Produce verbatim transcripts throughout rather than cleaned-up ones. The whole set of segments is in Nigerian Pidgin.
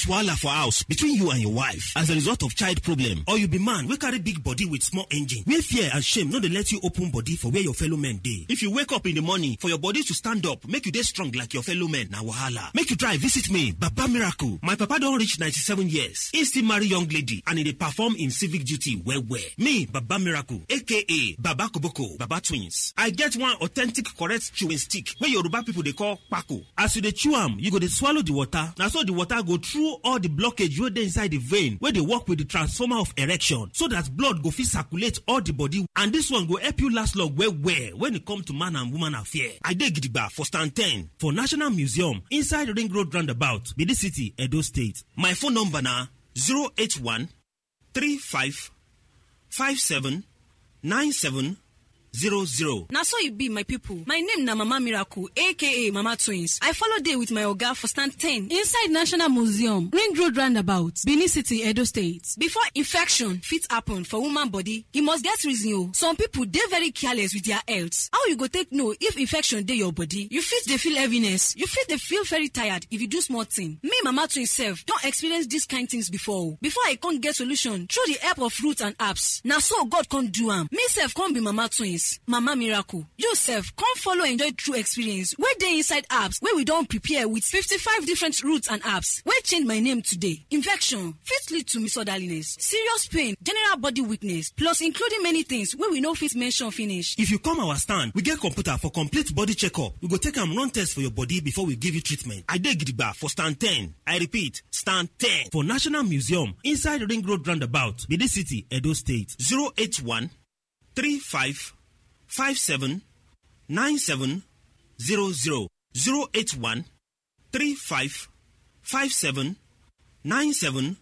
Wahala for house between you and your wife as a result of child problem, or you be man wey carry big body with small engine, where fear and shame no dey let you open body for where your fellow men dey. If you wake up in the morning for your body to stand up, make you dey strong like your fellow men, na wahala. Make you try visit me, Baba Miracle. My papa don reach ninety-seven years. He still marry young lady and he dey perform in civic duty well well. Me, Baba Miracle, A K A Baba Koboko, Baba Twins. I get one authentic correct chewing stick wey Yoruba people dey call kpako. As you dey chew am, you go dey swallow the water. Na so the water go through all the blockage wey dey inside the vein wey dey work with the transformer of erection, so that blood go fit circulate all the body. And this one go help you last long well well when it come to man and woman affair. I dey gidigba for stand ten for National Museum inside Ring Road Roundabout, Benin City, Edo State. My phone number na zero eight one three five five seven nine seven zero zero. Na so e be, my people. My name na Mama Miracle, A K A Mama Twins. I follow dey with my oga for stand ten inside National Museum, Ring Road Roundabout, Benin City, Edo State. Before infection fit happen for woman body, e must get reason o. Some people dey very careless with their health. How you go take know if infection dey your body? You fit dey feel heaviness. You fit dey feel very tired if you do small thing. Me, Mama Twins sef, don experience dis kind things before o. Before I come get solution through the help of roots and herbs, na so God come do am. Me sef come be Mama Twins, Mama Miracle. You sef come follow enjoy true experience wey dey inside herbs wey we don prepare with fifty-five different roots and herbs wey change my name today. Infection fit lead to misorderliness, serious pain, general body weakness, plus including many things wey we no fit mention finish. If you come our stand, we get computer for complete body checkup. We go take am run test for your body before we give you treatment. I dey gidigba for stand ten. I repeat, stand ten for National Museum inside Ring Road Roundabout, Benin City, Edo State. Zero eight one three five five seven nine seven zero zero. Zero eight one three five five seven nine seven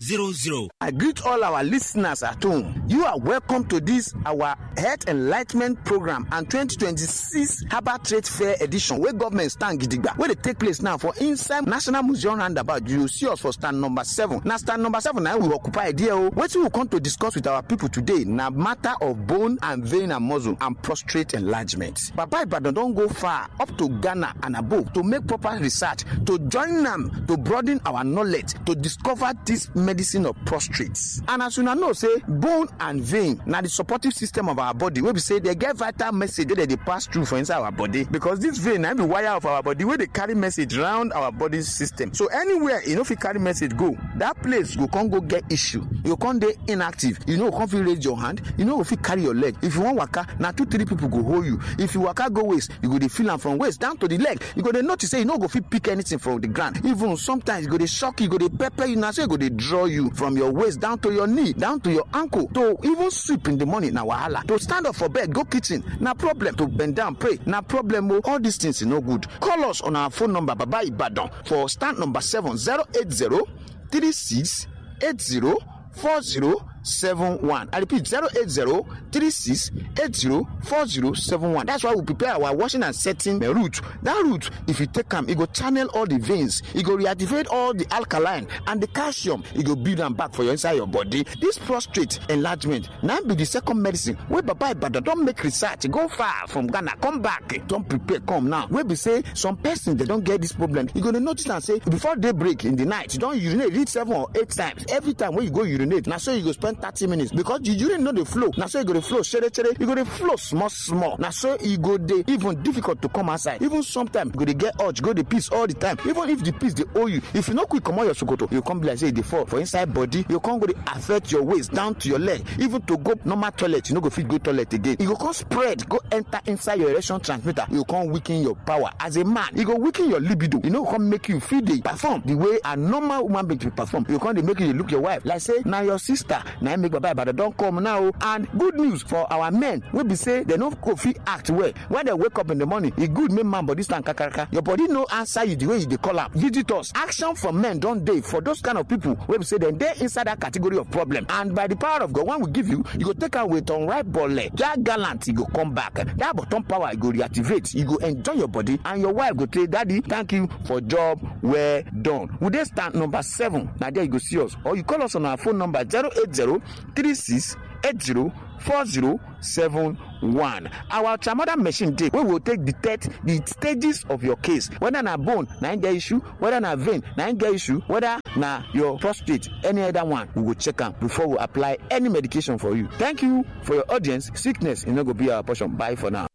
zero zero. I greet all our listeners at home. You are welcome to this our Health Enlightenment Program and twenty twenty-six Herbal Trade Fair edition wey government stand gidigba, wey dey take place now for inside National Museum roundabout. You see us for stand number seven. Na stand number seven na we occupy there o. Wetin we come to discuss with our people today na matter of bone and vein and muscle and prostate enlargement. Baba Ibadan don go far up to Ghana and above to make proper research, to join am, to broaden our knowledge, to discover this medicine of prostrate. And as una know say bone and vein na the supportive system of our body, wey be say they get vital message wey they dey pass through for inside our body, because this vein na be wire of our body wey dey carry message round our body system. So anywhere e no fit carry message go, that place go come go get issue. You go come dey inactive. You no go come fit raise your hand. You no go fit carry your leg. If you wan waka, na two, three people go hold you. If you waka go waist, you go dey feel am from waist down to the leg. You go dey notice say you no go fit pick anything from the ground. Even sometimes you go dey shock you, go dey pepper you. Na so e go dey draw you from your waist down to your knee, down to your ankle. To even sweep in the morning na wahala. To stand up for bed, go kitchen, na problem. To bend down, pray, na problem o. All these things e no good. Call us on our phone number, Baba Ibadan, for stand number seven, zero eight zero three six eight zero four zero seven one. I repeat, zero eight zero three six eight zero four zero seven one. That's why we prepare our washing and setting, uh, route. That route, if you take am, e go channel all the veins, e go reactivate all the alkaline and the calcium, e go build am back for your inside your body. This prostate enlargement na be the second medicine wey Baba Ibadan don make research go far from Ghana, come back, don prepare come now. Wey be say some person they don get this problem. You go dey notice am say before daybreak in the night, you don urinate reach seven or eight times. Every time when you go urinate, na so you go spend thirty minutes because the urine no dey flow. Na so you go dey flow shere shere. You go dey flow small small. Na so e go dey even difficult to come outside. Even sometimes you go dey get urge, go dey piss all the time. Even if the piss dey hold you, if you no quick comot your sokoto, you come be like say e dey fall for inside body. You come go dey affect your waist down to your leg. Even to go normal toilet, you no go fit go toilet again. You go come spread, go enter inside your erection transmitter. You come weaken your power as a man. You go weaken your libido. You no come make you fit dey perform the way a normal woman being to perform. You come dey make you dey look your wife like say na your sister. Na im make Baba Ibadan don come now. And good news for our men wey be say they no go fit act well. When they wake up in the morning, e good make man body stand kakaraka. Your body no answer you the way you dey call am. Visitors, action from men don dey for those kind of people wey be say dem dey inside that category of problem. And by the power of God, when we give you, you go take am with unripe bole. That gallant, e go come back. That bottom power, e go reactivate. You go enjoy your body, and your wife go say, "Daddy, thank you for job well done." We dey stand number seven. Na there you go see us. Or you call us on our phone number, zero eight zero three six eight zero four zero seven One, our ultramoder machine dey, wey will take detect the stages of your case, whether na bone na im get issue, whether na vein na im get issue, whether na your prostate, any other one, we go check am before we apply any medication for you. Thank you for your audience. Sickness e no go be our portion. Bye for now.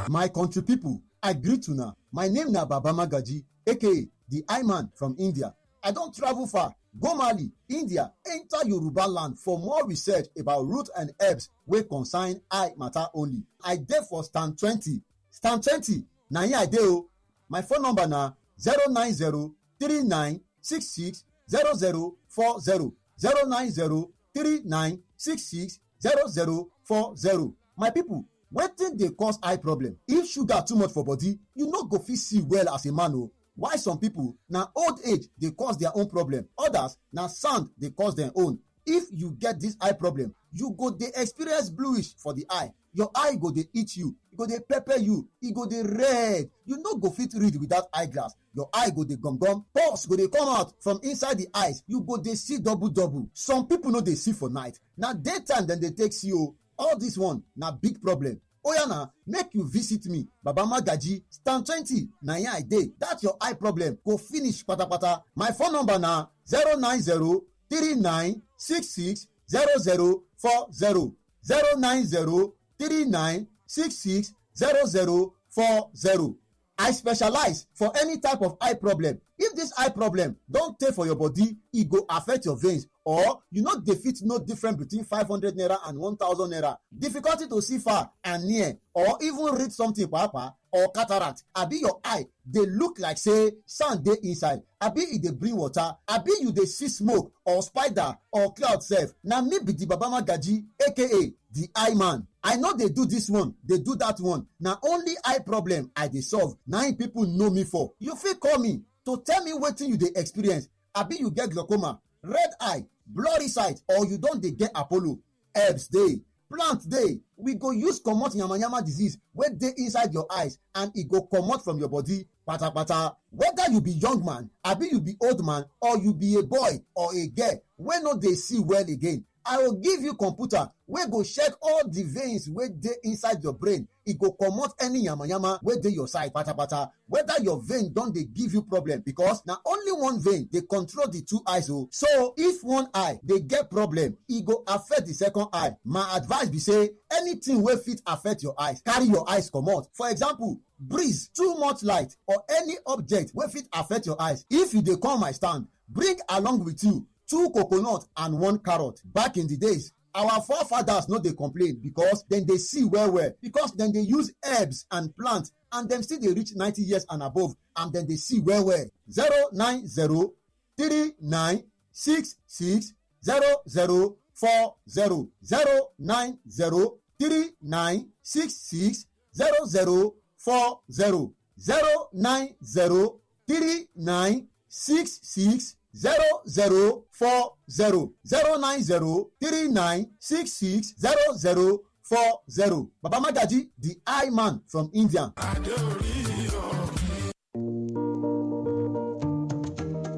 My country people, I greet una. My name na Baba Magaji, A K A the I Man from India. I don travel far, go Mali, India, enter Yoruba land for more research about root and herbs wey concern eye matter only. I dey for stand twenty. Stand twenty, na here I dey o. My phone number na zero nine zero three nine six six zero zero four zero, zero nine zero three nine six six zero zero four zero. My people, wetin dey cause eye problem? If sugar too much for body, you no go fit see well as a man o. Why some people na old age dey cause their own problem, others na sand dey cause their own. If you get this eye problem, you go dey experience bluish for the eye. Your eye go dey eat you, e go dey pepper you, e go dey red. You no go fit read without eyeglass. Your eye go dey gum gum, pulse go dey come out from inside the eyes. You go dey see double double. Some people no dey see for night. Na daytime dem dey take see o. All this one na big problem. Oya na, make you visit me, Baba Magaji, stand twenty, na here I dey. That your eye problem go finish patapata. My phone number na zero nine zero three nine six six zero zero four zero, zero nine zero three nine six six zero zero four zero. I specialize for any type of eye problem. If this eye problem don tey for your body, e go affect your veins, or you no dey fit know difference between five hundred naira and one thousand naira. Difficulty to see far and near, or even read something papa, or cataract, abi your eye dey look like say sand dey inside, abi e dey bring water, abi you dey see smoke or spider or cloud sef. Na me be the Baba Magaji, A K A the I Man. I no dey do this one, dey do that one. Na only eye problem I dey solve. Na im people know me for. You fit call me to tell me wetin you dey experience. Abi you get glaucoma, red eye, blurry sight, or you don dey get Apollo? Herbs dey, plant dey. We go use comot yamayama disease wey dey inside your eyes, and e go comot from your body patapata. Whether you be young man, abi you be old man, or you be a boy or a girl wey no dey see well again, I go give you computer wey go check all the veins wey dey inside your brain. E go comot any yamayama wey dey your side patapata. Whether your vein don dey give you problem, because na only one vein dey control the two eyes o. So if one eye dey get problem, e go affect the second eye. My advice be say anything wey fit affect your eyes, carry your eyes comot. For example, breeze, too much light, or any object wey fit affect your eyes. If you dey come my stand, bring along with you two coconut and one carrot. Back in the days, our forefathers no dey complain because dem dey see well well, because dem dey use herbs and plants, and dem still dey reach ninety years and above, and dem dey see well well. Zero nine zero three nine six six zero zero four zero, zero nine zero three nine six six zero zero four zero, zero nine zero three nine six six zero zero four zero, zero nine zero three nine six six zero zero four zero. Baba Magaji, the I Man from India.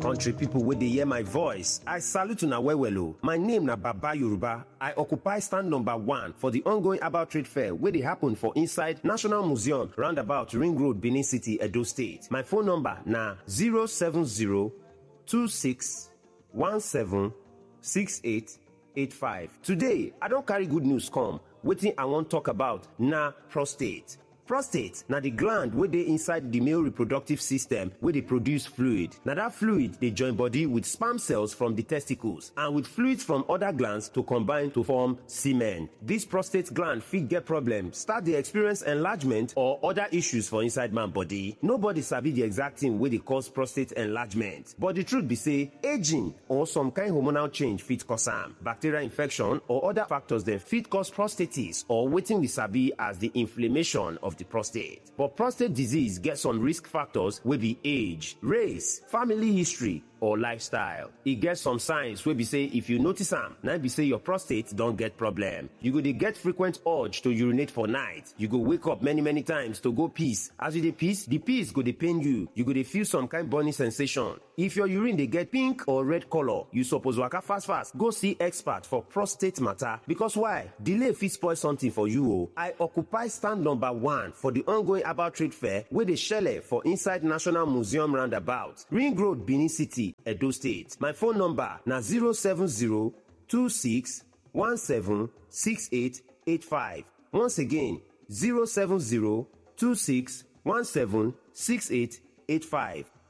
Country people wey dey hear my voice, I salute una well well o. My name na Baba Yoruba. I occupy stand number one for the ongoing herbal trade fair wey dey happen for inside National Museum, roundabout Ring Road, Benin City, Edo State. My phone number na zero seven zero two six one seven six eight eight five. Today, I don carry good news come. Wetin I wan talk about na prostate. Prostate na the gland wey dey inside the male reproductive system wey dey produce fluid. Na that fluid dey join body with sperm cells from the testicles and with fluids from other glands to combine to form semen. This prostate gland fit get problem, start dey experience enlargement or other issues for inside man body. Nobody sabi the exact thing wey dey cause prostate enlargement, but the truth be say aging or some kind hormonal change fit cause am. Bacterial infection or other factors dem fit cause prostatitis, or wetin we sabi as the inflammation of the prostate. But prostate disease get some risk factors wey be age, race, family history, or lifestyle. E get some signs wey be say if you notice am, na be say your prostate don get problem. You go dey get frequent urge to urinate for night. You go wake up many many times to go piss. As you dey piss, the piss go dey pain you. You go dey feel some kind burning sensation. If your urine dey get pink or red color, you suppose waka fast fast go see expert for prostate matter, because why? Delay fit spoil something for you o. I occupy stand number one for the ongoing herbal trade fair wey dey shele for inside National Museum roundabout, Ring Road, Benin City, Edo State. My phone number na zero seven zero two six one seven six eight eight five. Once again, zero seven zero two six one seven six eight eight five.